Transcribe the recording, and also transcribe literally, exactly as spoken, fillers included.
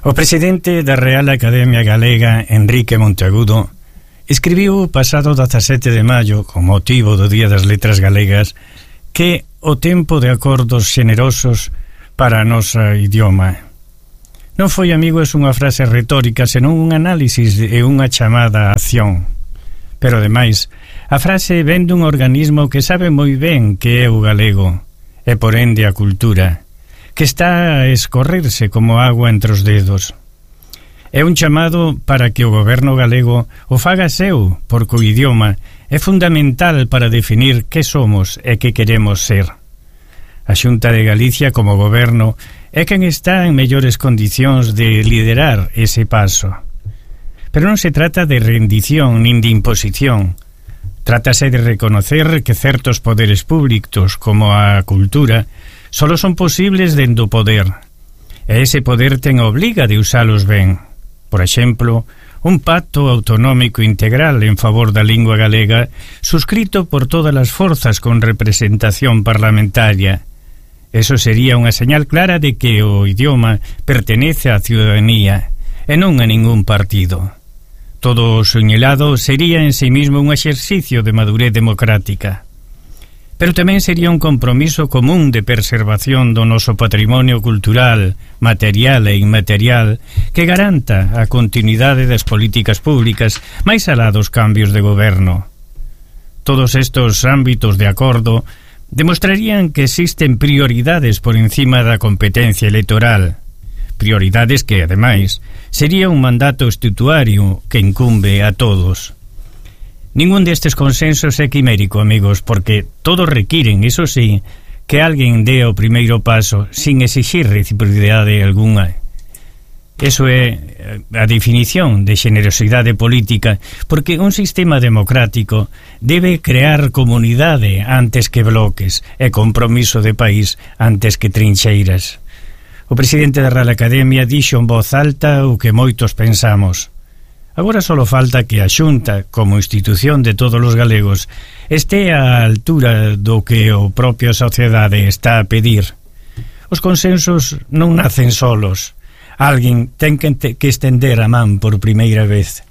O presidente da Real Academia Galega, Enrique Monteagudo, escribiu pasado dezasete de maio, con motivo do Día das Letras Galegas, que o tempo de acordos xenerosos para a nosa idioma. Non foi, amigos, unha frase retórica, senón un análisis e unha chamada a acción. Pero, ademais, a frase vén dun organismo que sabe moi ben que é o galego, e por ende a cultura, que está a escorrerse como agua entre os dedos. É un chamado para que o goberno galego o faga seu, porque o idioma é fundamental para definir que somos e que queremos ser. A Xunta de Galicia, como goberno, é quen está en mellores condicións de liderar ese paso. Pero non se trata de rendición nin de imposición. Trátase de reconocer que certos poderes públicos, como a cultura, solo son posibles dentro do poder, e ese poder ten a obliga de usalos ben. Por exemplo, un pacto autonómico integral en favor da lingua galega suscrito por todas as forzas con representación parlamentaria. Eso sería unha señal clara de que o idioma pertenece á ciudadanía e non a ningún partido. Todo o soñelado sería en sí mismo un exercicio de madurez democrática. Pero tamén sería un compromiso común de preservación do noso patrimonio cultural, material e inmaterial que garanta a continuidade das políticas públicas máis alá dos cambios de goberno. Todos estes ámbitos de acordo demostrarían que existen prioridades por encima da competencia electoral, prioridades que, ademais, sería un mandato estatutario que incumbe a todos. Ningún destes consensos é quimérico, amigos, porque todos requiren, iso sí, que alguén dé o primeiro paso sin exixir reciprocidade algunha. Eso é a definición de xenerosidade política, porque un sistema democrático debe crear comunidade antes que bloques e compromiso de país antes que trincheiras. O presidente da Real Academia dixo en voz alta o que moitos pensamos. Agora só falta que a Xunta, como institución de todos os galegos, este á altura do que a propia sociedade está a pedir. Os consensos non nacen solos. Alguén ten que estender a man por primeira vez.